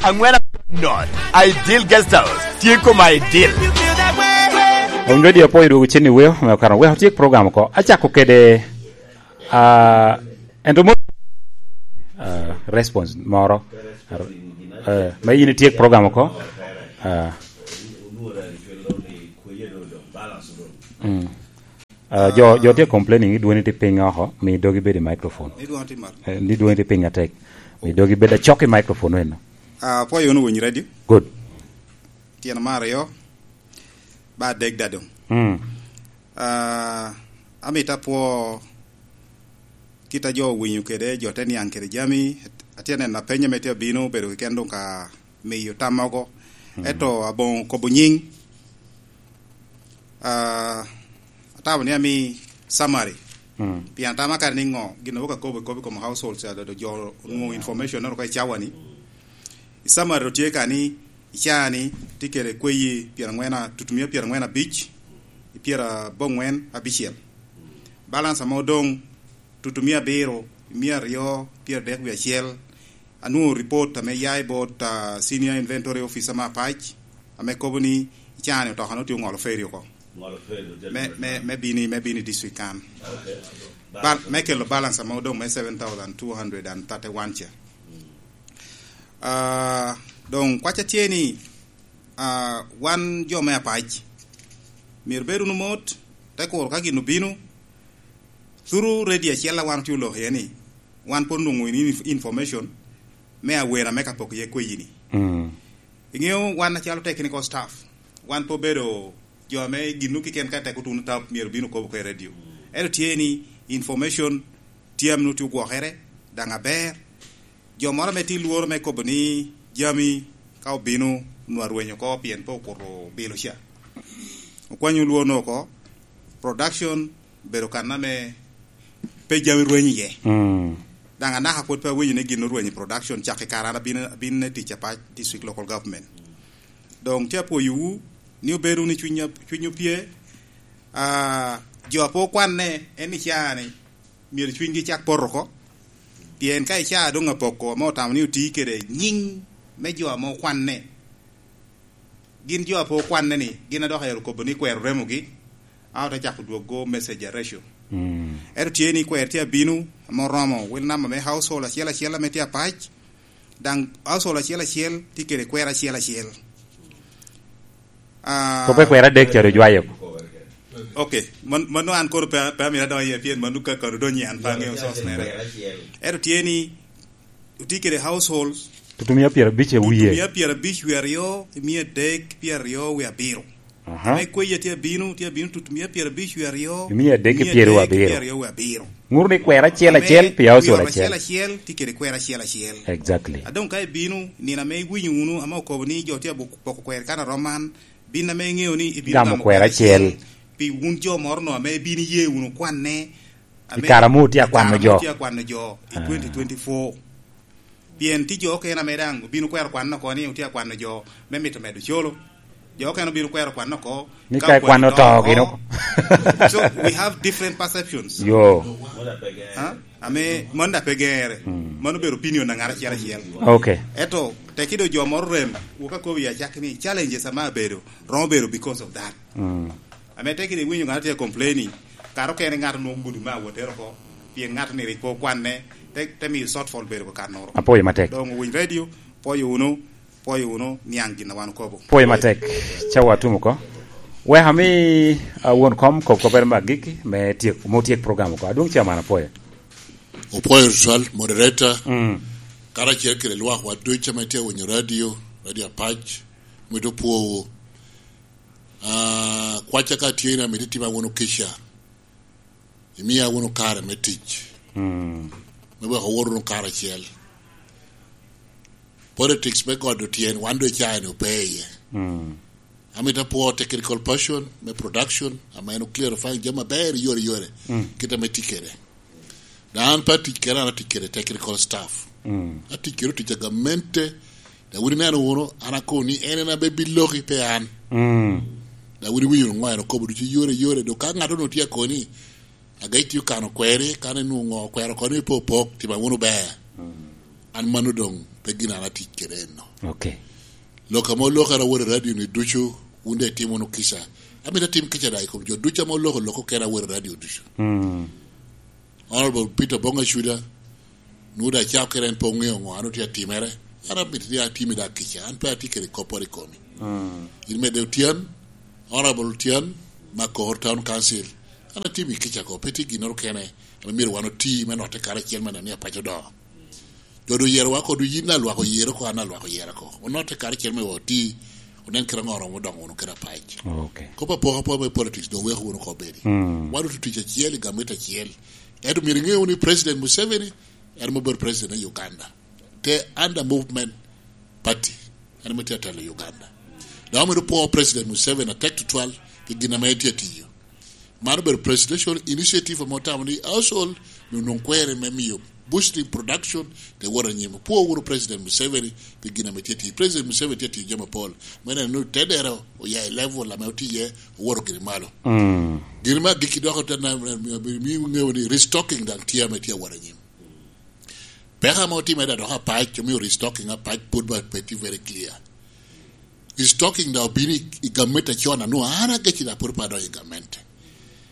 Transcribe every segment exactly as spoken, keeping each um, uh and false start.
Angwen not Ideal Guest House tye kom Ideal. Owiny radio apoyo dwogo cen i weo me okano weko tyek program oko acako kede uh, ento mo uh, response moro uh, ma in ityek program oko uh, mm. Uh, jo jo tye complaining ni dwoni tye piny oko mi dogi bedo i microphone. Ni dwoni tye malo. Eh, ni dwoni tye piny atek mi dogi bedo acok i microphone eno. Ah, apoyo wunu winyo radio. Good. Tyeno mar aryo ba adek da dong. Mm. Ah, amito apwo kita jo owinyo kede jo te niang kede jami. Atye neno apenye me tye abino obedo keken dong ka miyo tam mogo. Ento abongo kobo nying. Ah, atamo ni ami summary. Pien atama kare ni ngo gin awoka kobo kobo i kom households ado jo onwongo information eno ka i cawa ni. I summary do tye ka ni i cawa ni tye kede kweyi pyerangwen tutumiya pyerangwen abic i pyerabongwen abicel. Balance ame odong tutumiya abiro miya aryo pyeradek wiye acel. Anwongo report ame yai bot uh, senior inventory officer ma Apac ame kobo ni i cawa ni otoka no tye ongolo ferry oko. Me, me, me bini me bini district kan. Ba, me kelo balance ame odong me seven thousand two hundred and thirty one ca. Uh, dong kwaca tye ni uh, wan jo me Apac myero bed wunu mot te kuro ka gin obino through radio acel a wan tye oloko iye ni wan pod onwongo information me awena me ka poko iye kweyi-ni. Mm. Ingeo wan acalo technical staff wan pe obedo jo me ginu kiken ka tek otuno tap myero bino kobo ke radio. Ento tye ni information tye ame nongo tye ogwokere dang aber jo moro me tye lworo me kobo ni jami ka obino nwa rwenyo ko pien pe okuto bilo ca. Okwanyo lworo no oko production bedo kana me pe jami rwenyo iye. Mm. Dang anaka pwod pe awinyo ni gin orwenyo i production cak i kare an abino abino tic Apac district local government. Dong tye apoyowu ni obedo ni cwiny cwiny opye uh, jo apo kwanne en ni caa ni myero cwinygi cak poto oko pien ka icaa dong apoko ame otamo ni oti kede nying me jo ame okwanne gin jo apo kwanne ni gin adok ero kobo ni kwero remogi a ote cako dwogo message a ratio. Mm. Ento tye ni kwer tye abino ame oromo wel namba me household acel acel ame tye Apac dang household acel acel tye kede kwer acel acel. Ko pe Uh, kwer adek ca ojwayo. okay, man mano an koro pe pe amito adonyo iye pien mano ka kado donyo an pe ang'eyo source mere. Ento tye ni otye kede households Tutumiya pyerabic e wiye. tutumiya pyerabic wiye aryo miya adek pyeraryo wiye abiro. Aha. Ame kweya tye abino tye abino tutumiya pyerabic wiye aryo Miya adek ki miya pyeraryo adek abiro. pyeraryo wiye abiro. Nguru ni kwer acel Ame acel pi wi household ot acel acel. acel tye kede kwer acel acel. Exactly. Adong ka ibino nino ame iwinyo wunu ame okobo ni jo tye poko kwer kan arom man bin ame ing'eyo ni ibino Gamo gamo kwer kwer acel. acel pi wun jo moro no ame ibino iye wunu kwanne I ame kare ame otye i kare akwano ame jo. otye akwano jo i twenty twenty four pien tye jo okene ame dang obino kwero kwanne oko ni otye akwano jo me mito medo colo jo okene obino kwero kwanne oko Ni ka ka okwani ikwano to to gino. oko so we have different perceptions Yo. huh? ame mano da pe gere mano obedo opinion na ng'at achiel achiel Okay. eto tekido jo moro rem wuok akobi achak ni challenges ama abedo romo bedo because of that Mm. ame tekido iwinjo ng'ato tye complaining kare okene ng'ato nwongo gudu ma awotero ko pien ng'ato ni rik po kwanne te, te miyo shortfall bedo ko kanoro Apoyo matek. dong owinj radio poyo unu poyo unu niang gin na wan okobo Poyo matek. Chawa atumo ko. Wek ami uh, wuon kom kob kober ma agiki me tiek mo tiek program ko. Adwong chairman apoyo. Opoyo twal moderator Mm. karachiel kede lwak wa ducu ame tye winyo radio radio Apac mito pwowu uh, kwaca ka tye ni amito itima wunu kica imiya wunu kare me tic Mm. me weko owot wunu karacel politics me godo tyen wan do icae ni ope iye Mm. amito apwo technical person me production ama en oclarify jami maber yore yore Mm. kite me tic kede na an pe atic kede an atic kede technical staff Mm. atic kede otic a gamente da wun ineno wunu an akoni ni en ena be biloki pe an Mm. da wun iwinyo ngo en okobo ducu yore yore do ka ng'ato no tye akoni agai tiyo kano kweri kan enwongo kwero koni pe opok tima wunu ber an mano dong pe pe gin an atic kede eno Okay. Loka mo loka ra wore radio ni ducu wunde timo no kisa amita tim kica da ikom jo ducu mo loko loko kera wore radio ducu Mm. Honorable Peter Bonga Shuda nuda chao keren po ng'eyo ng'o ano tia timere ana mit tia timi da kicha an pe ati kere kopori komi Mm. in mede Tian Honorable Tian ma Kohor Town Council ana timi kicha ko peti ginoro kene ana miro wano ti meno te kare chiel mana ni apacho do jodo yiero wa kodu yin na lwako yiero ko an alwako yiero ko onote kare chiel me oti onen kira ng'oro modongo ono kira pach Okay. kopa poka po me politics do weko wono ko bedi Mm. wadu tich achiel gameta achiel ento myero ing'eyo ni President Museveni en mobedo president e Uganda te under movement party en motiyo telo Uganda da omedo puo President Museveni atek tutwal gi gina ma entie tiyo mano bedo presidential initiative motamo ni household nonong kwere me miyo boosting production te wora nyimo puo wuro President Museveni pi gina ma tie tiyo President Museveni tie tiyo jama pol mene no tedero oya e level ame otiye owuoro giri malo Mm. gir ma giki doko te na mi ng'eyo ni restocking dang tiya me tiya wara nyim peka ma otime da dok apach omiyo restocking apach pod ba peti very clear restocking da obini i government achon anu an agechi da pod padonjo i government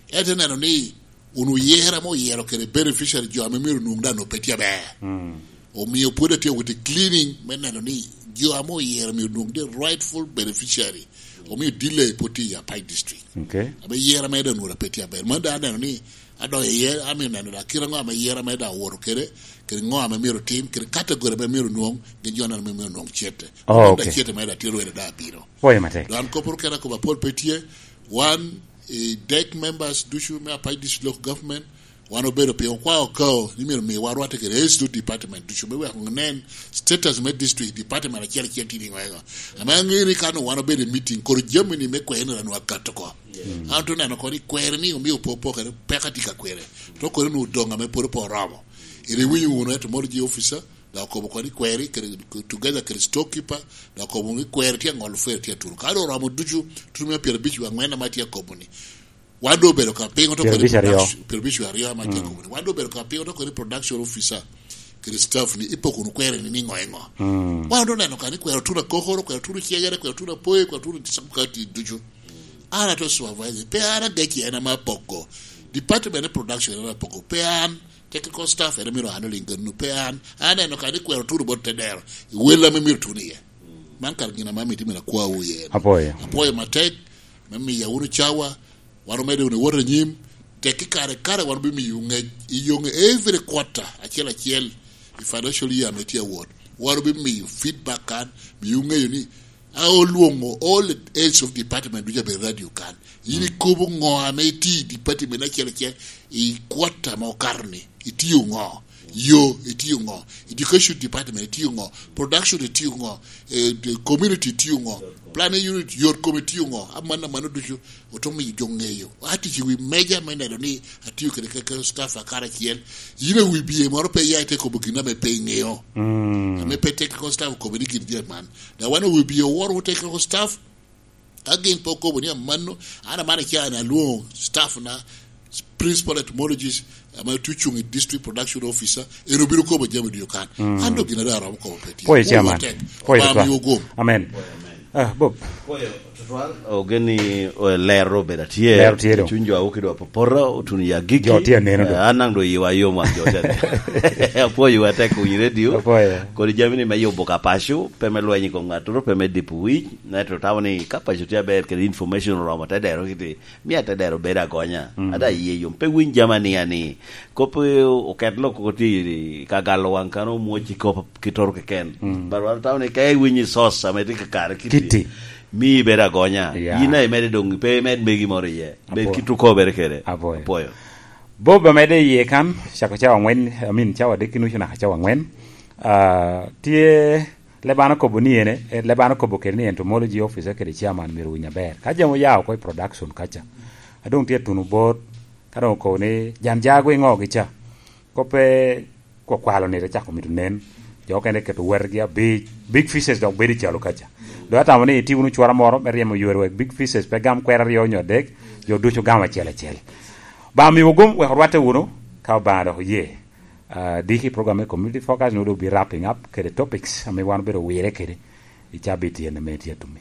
ete neno ni unu yiera mo yiero kere beneficiary jo ame myero nwong da no peti aber Mm. omiyo pod atiyo with the cleaning me neno ni jo ame oyiero myero nwong the rightful beneficiary omiyo delay pod ti i Apac district Okay. abe yiera ma eda nworo peti aber ma da aneno ni adonjo iye amiyo neno da kira ng'o ame yiera ma eda awuoro kere kere ng'o ame myero tim kere category ma myero nwong gin jo neno ma myero nwong chiete Oh, da okay. chiete ma eda tero eda da biro Poyo matek. dan kopor kera ko ba pol petie one e DEC members ducu me Apac district local government wan obedo piny okwa okao ni myero mi warwate kede H D department ducu me weko nen status me district department achiel achiel tini ng'o ama ang'e ni kano wan obedo e meeting koro jami ni me kwere ni wakato ko an to neno koni kwere ni omiyo po pokere peka tika kwere to kore nu donga me pod po romo iri winyo wuno entomology officer da okobo koni kweri kere together kere storekeeper da okobo ni kweri tia ng'ol fwer tia turu kado romo ducu turu mia piero abich ang'wen ma tia kobo ni wado bedo ka pingo to Piero kore abich ariyo. production piero abich ariyo ma tia kobo ni wado bedo ka pingo to kore production officer kere staff ni ipoko nu kwere ni ng'o ng'o Mm. wado neno ka ni kwero tuna kohoro kwero tuna chiegere kwero tuna poe kwero tuna tisakati ducu ana to supervisor pe ana geki ena ma poko department of production ena poko pe an technical staff ena miro handling ganu pe an aneno ka ni kwero turu bot tedero wela me miro tuni ye man kar gina ma miti mena kwa uye Apoyo. apoyo matek mami ya unu chawa wano mede unu wore nyim teki kare kare wano bi mi yunge iyonge every quarter achiel achiel i financial year metia ward wano bi mi feedback kan mi yunge yuni aoluongo all heads of department duja be radio kan yini kobo ng'o ame iti department achiel achiel i quarter ma okarni itiyo ng'o yo itiyo ng'o education department itiyo ng'o production itiyo ng'o eh, the community itiyo ng'o planning unit yor kom itiyo ng'o amana mano ducu otomi jong'eyo atich wi meja me neno ni atiyo kede kaka staff akar achiel yine wi biye moro pe yae te kobo gina me pe ng'eyo Mm. ame pe technical staff kobo ni gin je man da wan wi biye wor technical staff again po kobo ni amano ana mana kia na luo staff na principal entomologist ama tuchung district production officer ero biro kobo jami duyo kan Mm. ando gina da rom kobo peti Poyo chairman. Poyo ba tutwal. mi ogom Amen. Ah, Bob. Poyo tutwal ogeni eh, ler obedo atie Ler tie do. chuny jo auki dwa popora otun ya giki Jo tie neno do. Eh, an nang do yiwa yo ma jo tie apuoyo watek winj radio Apuoyo. kod jamni ma yubo ka pacho pe me lweny kom ng'ato pe me dipo wich neto tamo ni ka pacho tie ber kendo information oromo tedero kiti miya tedero bedo agonya Mm. ada yie yom pe winj jamani ani kop eh, oket lok koti kagalo wang kano muochi kop kitor keken Mm. but wan tamo ni ka iwinji sos sama iti kakare kiti Kiti. mi bedo agonya Yeah. in ae dong pe imed megi moro iye bed Apuoyo. kituko ber kede Apuoyo. apuoyo Bob amede iye kan chako chawa ang'wen I mean chawa adek gi nusu nyaka chawa ang'wen uh, tie lebano kobo ni ene eh, lebano kobo kede ni entomology officer kede chairman miero winj aber ka jamo yawo ko i production kacha adong tie tunu bot kadong ko ni jan jago ing'o gi cha kope kwakwalo ni chako mito nen jo kende keto wergi abich big fishes dok bedo i chalo kacha do atamo ni iti unu chwara moro me riemo yore wek big fishes pe gam kwer ariyo nyo adek jo ducu gam achiel achiel ba mi wogom wek orwate wuno ka obanga dok oye Uh, diki program me community focus no be wrapping up kede topics ame wan bedo wire kede i cabit ene me tye tumi.